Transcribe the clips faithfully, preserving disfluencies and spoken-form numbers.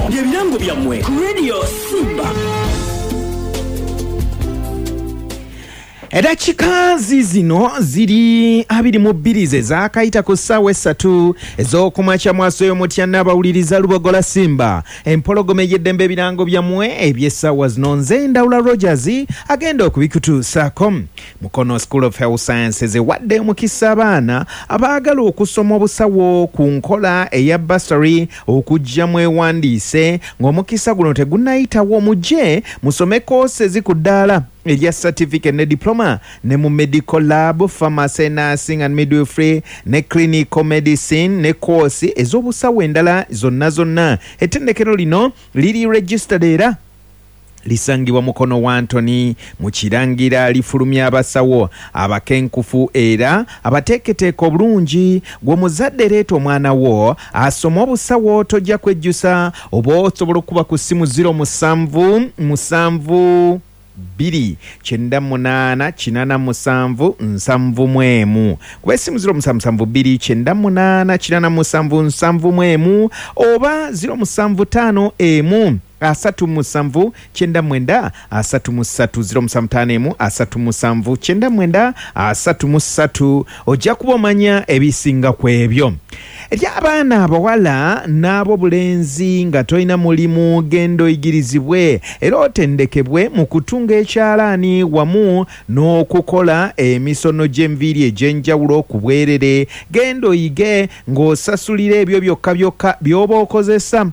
Bye birango byammwe ku Radio Simba. Edakika zino ziri abiri mu bbiri ze zaakayita ku ssaawa essatu ez'okumakya mwasoyo mutya n'abawuliriza Lubogola Simba empologoma ey'eddembe. Ebirango byammwe eby'essaawa zino nze Ndawula Rogers agenda okubikutuusaako. Mukono School of Health Sciences ewadde omukisa abaana abaagala okusoma obusawo ku nkola eya bursary okujja mwewandiise ng'omukisa guno tegunnayitawo. Mujje musome courses ku ddaala erya certificate ne diploma ne mu medical lab, pharmacy, nursing and midwifery ne clinical medicine ne course ez'obusawo endala zonna zonna. Ettendekero lino liri registered era lisangibwa Mukono wa Antony mu Kirangira. Lifulumya abasawo abakenkufu era abateeketeeka obulungi. Gwe omuzadde leeta omwana wo asome obusawo, tojja kwejjusa. Oba osobola okuba ku ssimu zero musanvu musanvu bbiri kyenda munaana kinaana musanvu nsanvu mu emu, kuba essimu zero musanvu musanvu bbiri kyenda munaana kinaana musanvu nsanvu mu emu oba zero musanvu ttaano emu asatu musanvu kyenda mwenda asatu mu ssatu, zero musanvu ttaano emu asatu musanvu kyenda mwenda asatu mu ssatu. Ojja kuba omanya ebisinga ku ebyo. Eri abaana abawala n'ab'obulenzi nga tolina mulimu, genda oyigirizibwe era otendekebwe mu kutunga ekyalaani wamu n'okukola emisono gy'enviiri egy'enjawulo ku bwerere. Genda oyige ng'osasulira ebyo byokka byokka by'oba okozesa.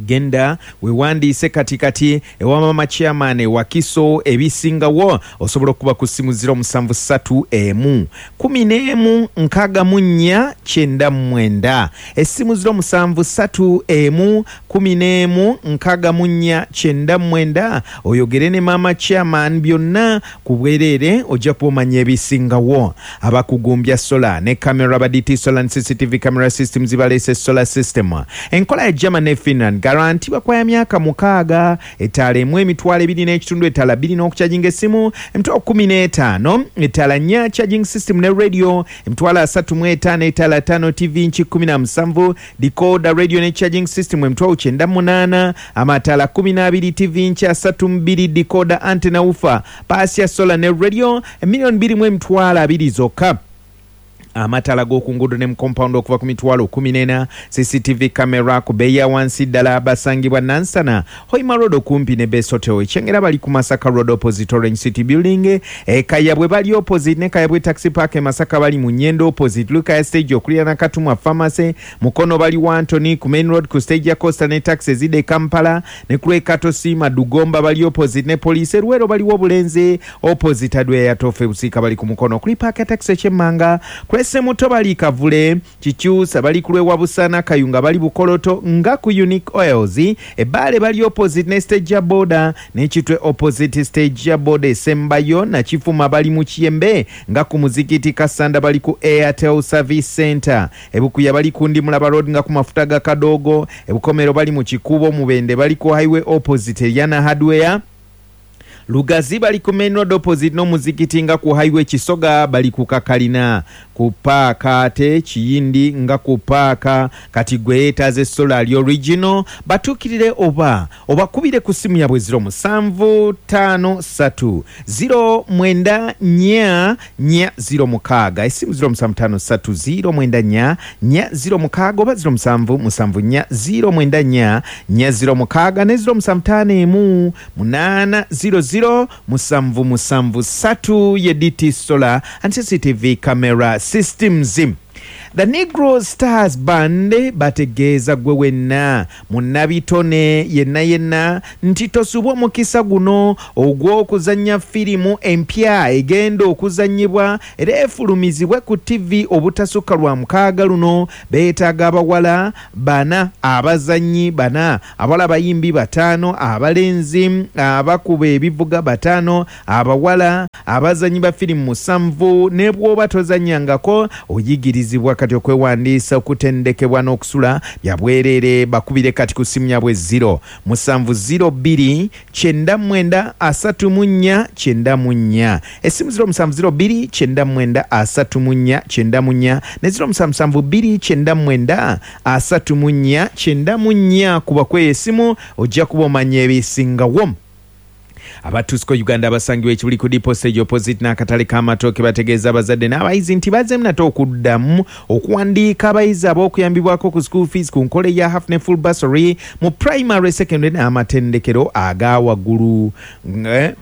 Genda wewandiise kati kati ewa mama chairman Wakiso. Ebisingawo osobola okuba ku ssimu zero musanvu ssatu emu kumi n'emu nkaaga mu nnya kyenda mwenda, essimu zero musanvu ssatu emu kumi n'emu nkaaga mu nnya kyenda mwenda, oyogere ne mama chairman byonna ku bwereere, ojja kuba omanya ebisingawo. Abakugumbya solar ne camera ba D T Solar and C C T V camera systems baleese solar system enkola ya German ne Finland, garanti bakwaya myaka mukaaga, etaala emu emitwalo ebiri n'ekitundu, etaala bbiri n'okukyajinga essimu emitwalo kkumi n'etaano, etaala nnya charging system ne radio emitwalo asatu mu etaano, etaala ttaano T V nki kkumi na musanvu, decoder radio ne charging system emitwalo kyenda munaana, amataala kkumi n'abiri T V nki asatu mu bbiri, decoder antenna woofer paasi ya solar ne radio emiliyoni bbiri mu emitwalo abiri zokka. Amataala g'oku nguudo ne mu compound okuva ku mitwalo kkumi n'ena, C C T V camera ku bbeeyi ya wansi ddala. Basangibwa Nansana Hoima Road okumpi ne Best Hotel, Ekyengera bali ku Masaka Road opposite Orange City Building, e Kayabwe bali opposite ne Kayabwe Taxi Park, e Masaka bali mu Nyendo opposite Lukaya Stage okuliraana Katumwa Pharmacy, Mukono bali wa Antony ku Main Road ku stage ya Costa ne taxi ezidda e Kampala, ne ku lw'e Katosi Madugomba bali opposite ne poliisi, e Luweero baliwo Obulenzi opposite Adweya ya Tofe, Busiika bali ku Mukono kuli paaka ya taxi Ekyemmanga, Semuto bali Kavule, Kikyusa bali ku lw'ewa Busana, Kayunga bali Bukoloto nga ku Unique Oils, Ebbaale bali opposite ne stage ya boda ne Kitwe opposite stage ya boda esembayo, na Kifuma bali mu Kiyembe nga ku muzikiti, Kasanda bali ku Airtel Service Center, Ebukuya bali ku Ndimulaba Road nga ku mafuta ga Kadogo, Ebukomero bali mu Kikubo, Mubende bali ku highway opposite Yana Hardware, Lugazi bali ku Main Road opposite n'omuzikiti nga ku highway, Kisoga bali ku Kakalina ku paaka, ate Kiyindi nga ku paaka. Kati gwe yeetaaze solar ali original, batuukirire oba obakubire ku ssimu yabwe zero musanvu ttaano ssatu zero mwenda nnya nnya zero mukaaga, essimu zero musanvu ttaano ssatu zero mwenda nnya nnya zero mukaaga oba zero musanvu musanvu nnya zero mwenda nnya nnya zero mukaaga ne zero musanvu ttaano emu munaana zero zero musanvu musanvu ssatu. Ye D T Solar and C C T V camera systems. The Negro Stars Band bategeeza gwe wenna munnabitone yenna yenna nti tosubwa omukisa guno ogw'okuzannya firimu empya egenda okuzannyibwa era efulumizibwe ku T V obutasukka lwa mukaaga luno. Beetaaga abawala bana, abazannyi bana, abawala abayimbi bataano, abalenzi abakuba ebivuga bataano, abawala abazannyi ba firimu musanvu. Ne bw'oba tozannyangako oyigirizibwa kati okwewandiisa, okutendekebwa n'okusula bya bwereere. Bakubire kati ku ssimu yabwe zero musanvu zero bbiri kyenda mwenda asatu mu nnya kyenda mu nnya. Essimu zero musanvu zero bbiri kyenda mwenda asatu mu nnya kyenda mu nnya ne zero musanvu musanvu bbiri kyenda mwenda asatu mu nnya kyenda mu nnya. Kuba kweyo essimu ojja kuba omanya ebisingawo. Abatusiko Uganda abasangibwa ekibuli ku depot stage opposite n'akatale k'amatooke bategeeza abazadde n'abayizi nti bazzeemu nate okuddamu okuwandiika abayizi ab'okuyambibwako ku school fees ku nkola eya half ne full bursary mu primary, secondary n'amatendekero aga waggulu.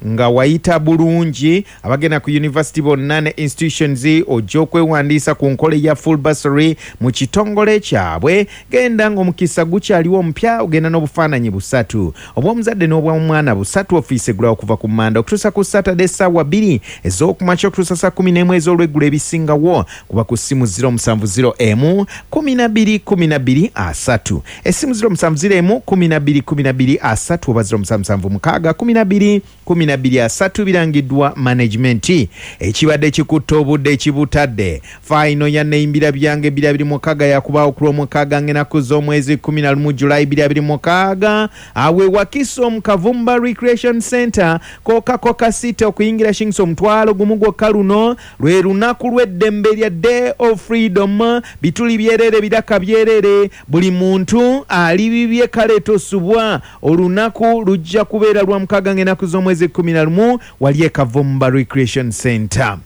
Nga wayita bulungi abagenda ku university bonna ne institutions ojja okwewandiisa ku nkola eya full bursary mu kitongole kyabwe. Genda ng'omukisa gukyaliwo omupya, ogenda n'obufaananyi busatu obw'omuzadde n'obw'omwana busatu. Ofiisi eggulawo okuva ku Manda okutuusa ku Saturday essaawa bbiri ez'okumakya okutuusa saa kumi n'emu ez'olweggulo. Ebisingawo kuba ku ssimu zero musanvu zero emu kumi na bbiri kumi na bbiri asatu, essimu zero musanvu zero emu kumi na bbiri kumi na bbiri asatu oba zero musanvu musanvu mukaaga kumi na bbiri kumi na bbiri asatu. Birangiddwa management. Ekibadde kikutta obudde ekibutadde final ya Neyimbira Byange bbiri abiri mukaaga yakubaawo ku Lwomukaaga ng'ennaku z'omwezi kumi na lumu Julayi bbiri abiri mukaaga awe Wakiso mu Kavumba Recreation Center, Coca Coca City. Okuyingira shillings omutwalo gumu gwokka. Luno lwe lunaku lw'eddembe lya Day of Freedom. Bituli byerere, biraka byerere, buli muntu ali bibye, kale tosubwa. Olunaku lujja kubeera lwa mukaaga ng'ennaku z'omwezi kumi na lumu wali e Kavumba Recreation Center.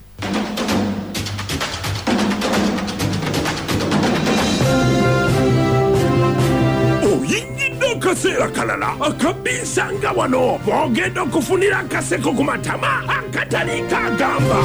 Oyingidde akaseera kalala akabiisanga wano bw'ogenda okufunira akaseko ku matama akatali kagamba.